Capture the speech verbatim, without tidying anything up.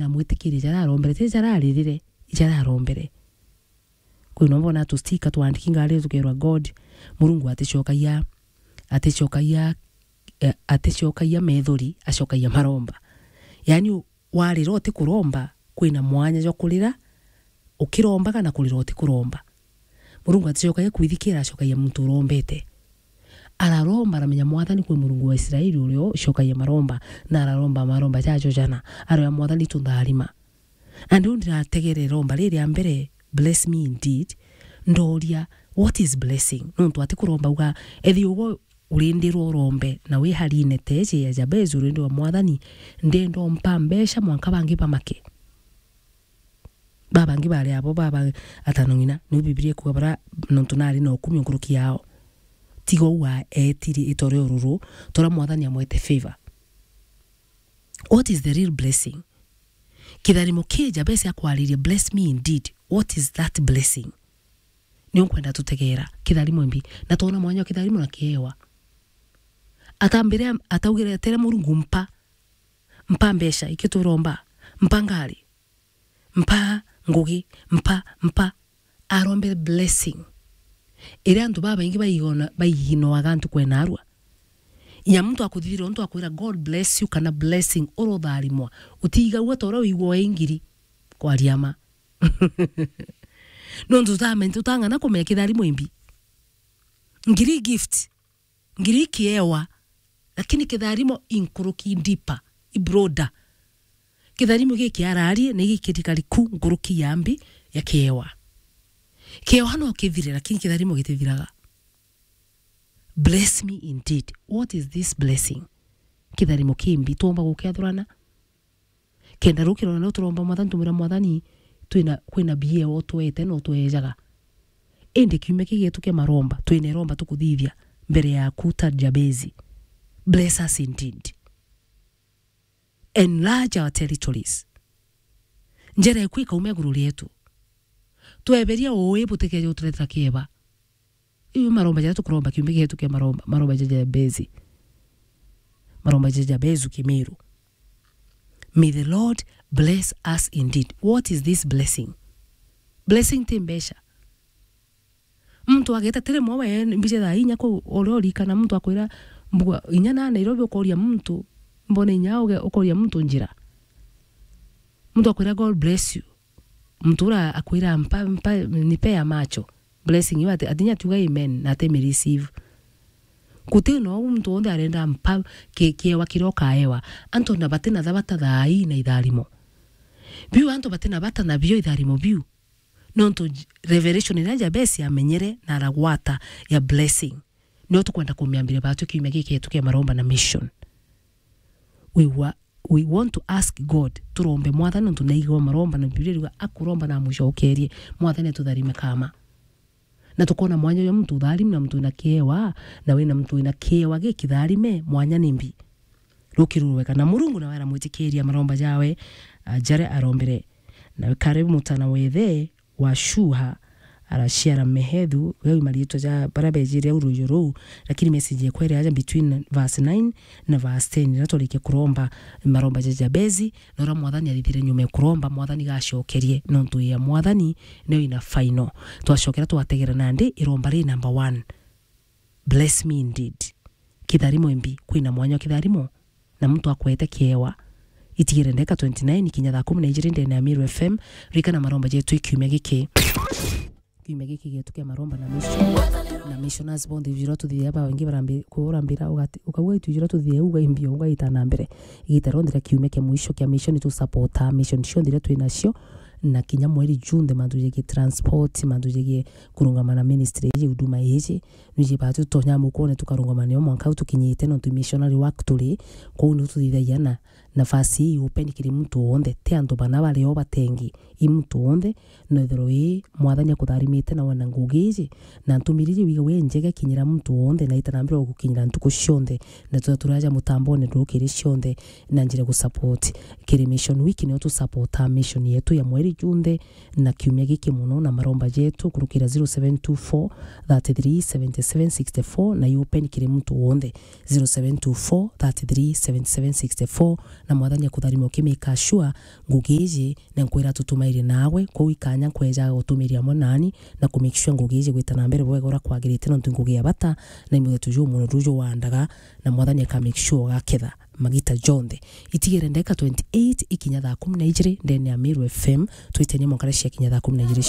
na mwitikirie jaria arombere, ti jaria aririre, jaria arombere. Kwina umbona tustika twandiki ngari tukerwa God, Murungu aticokagia, aticokagia, eh, aticokagia methori, acokagia maromba. Yaani, u-, warira utikuromba, kwina mwanya jwa kurira ukirombaga na kurira utikuromba. Murungu aticokagia kwithikira, acokagia muntu urombete. Araromba, aramenya Mwathani kwi Murungu wa Israeli uria ucokagia maromba, na araromba maromba jajo jana, aroya Mwathani tuntharima. Na riu ndirategere iromba riri ria mbere, "Bless me indeed." Ndoria, "What is blessing?" Nontu atikuromba uga, ethi ugo urindirwa urombe, na wi harine teje ya Jabezi urindirwa, "Mwathani, ndenda umpa mbeca mwanka bangi bamake." Babangi bari abo, baba atano ng'ina, niu Bibilia ikuga bara nontu nari na ukumi nkuruki yao. Tiga uu aetiri itore ururu, tora Mwathani amwete favor. What is the real blessing? Kitharimo ki Jabesi akwaririe, "Bless me indeed." What is that blessing? Nio nkwenda tutegeera kitharimo imbi. Na twona mwanya wa kitharimo na kiewa. Atambire, ataugire, "Tere Murungu, mpa. Mpa mbeca, ikio turomba. Mpa ngari. Mpa ngugi. Mpa, mpa." Arombere blessing. Iria antu babaingi baigona-, baiginoaga antu kwena arua. Inya muntu akuthithira untu akwira, "God bless you," kana "Blessing," urotharimwa. Utiigagua ta uria wigua ingiri. Kwaria ma. Nontu tutame-, tutang'ana kumenya kitharimo imbi. Ngiri gift. Ngiri kiewa. Lakini kitharimo inkuruki, deeper, i broader. Kitharimo giki ararie ni gikirikari ku nkuruki ya mbi ya kiewa. Kiewa no kithire, lakini kitharimo gitithiraga. Bless me indeed. What is this blessing? Kitharimo kimbi twomba gukiathurana? Kenda rukirona no turomba Mwathani, tumwira, "Mwathani, twina, kwina bia utwete na utwejaga. Indi kiumia kigetu kia maromba, twina iromba tukuthithia mbere yaku ta Jabezi. Bless us indeed. Enlarge our territories." Njera eku ikaume iguru rietu. Tweberia uui butikeje uturetera kieba. Iu maromba jaria tukuromba kiumia gietu kia maromba, maromba ja Jabezi. Maromba ja Jabezu Kimiru. May the Lord bless us indeed. What is this blessing? Blessing ti mbeca. Muntu ageta tiri mwe we mbije thaa inya ku uria urikana muntu akwira mbugua inya na Nairobi ukoria muntu mbone inya uge ukoria muntu njira. Muntu akwira, "God bless you." Muntu ura akwira, "Mpa, mpa, nipe ya macho." Blessing iu ati, ati inya tuga amen, na ati mi receive. Guti no muntu wonthe arenda mpa ki-, kiewa kiria ukaewa. Antu na bati na thabata thaa ii na itharimo. Biu antu bati na bata nabio itharimo biu. Nontu j-, revelation iria Jabesi amenyere na aragwata ya blessing. Nio tukwenda kumiambiria batu kiumia giki yetu kia maromba na mission. We wa-, we want to ask God, turombe Mwathani nontu naigua maromba na Biblia iriuga akuromba na amucokerie. Mwathani atutharime kama. Na tukona mwanya uria muntu utharimi na muntu wina kiewa, na wina muntu wina kiewa gikitharime, mwanya ni mbi. Rukirurwe kana Murungu nawe aramwitikiria maromba jawe, ah, jaria arombere. Na karibu mutana wethe, wa Shuha, araciara Mehethu, gau i mariitwa ja baria beejire au ruuju ruu, lakini message yekwere aja between verse nine na verse ten, riria twarikia kuromba maromba ja Jabezi, na uria Mwathani athithire nyuma ya kuromba, Mwathani gacokerie, nontu ya Mwathani niyo ina final. Twacokera twategera nandi iromba ri number one. Bless me indeed. Kitharimo imbi, kwina mwanya wa kitharimo, na muntu akwete kiewa. Itigire ndeka twenty-nine kinya thaa kumi na ijiri ndene ya Meru F M, rikana maromba jetu ikiumia giki. Kiumia giki gietu kia maromba na mission. Na missioners bonthe ijira tuthithia ba wengi barambi-, kurambira ugati-, ukauga itu ijira tuthithia uga imbio uga ita na mbere. Igita ronthe ria kiumia kia mwisho kia mission tu support mission cionthe iria twi nacio. Na kinya mweri June, the mantu jegie transport, mantu jegie kurungama na ministry iji, huduma iji. Niji batu tutonya mukone tukarungama nio mwanka au tukinyite, nontu missionary work turi, kwou niu tuthithagia na nafasi ii open kiri muntu wonthe, ti antu bana bari o batengi, i muntu wonthe, nethirwa ii Mwathani akutharimite na wena ngugi iji, na ntumiri iji wiga wi njega kinyira muntu wonthe, na itanambira gukinyira ntuku cionthe, na tuta turaja mutambone nduru kiri cionthe, na njira gu support kiri Mission Week, nio tu support mission yetu ya mweri junthe, na kiumia giki mono na maromba jetu kurukira zero seven two four, thirty-three, seventy-seven, sixty-four na i open kiri muntu wonthe, zero seven two four, thirty-three, seventy-seven, sixty-four na Mwathani akutharima ukimika sure ngugi iji, na nkwira tutumaire nawe, kwou ikanya nkwejaga gutumiria amwe nani, na ku make sure ngugi iji gwita na mbere bwega uria kwagirite, nontu ngugi ya bata, na i muthetu juu muno ruju wandaga, na Mwathani aka make sure ugaketha magita jonthe. Itigere ndeka twenty-eight ikinya thaa kumi na ijiri ndene ya Meru F M, twitenie mwankara cia kinya thaa kumi na ijiri cia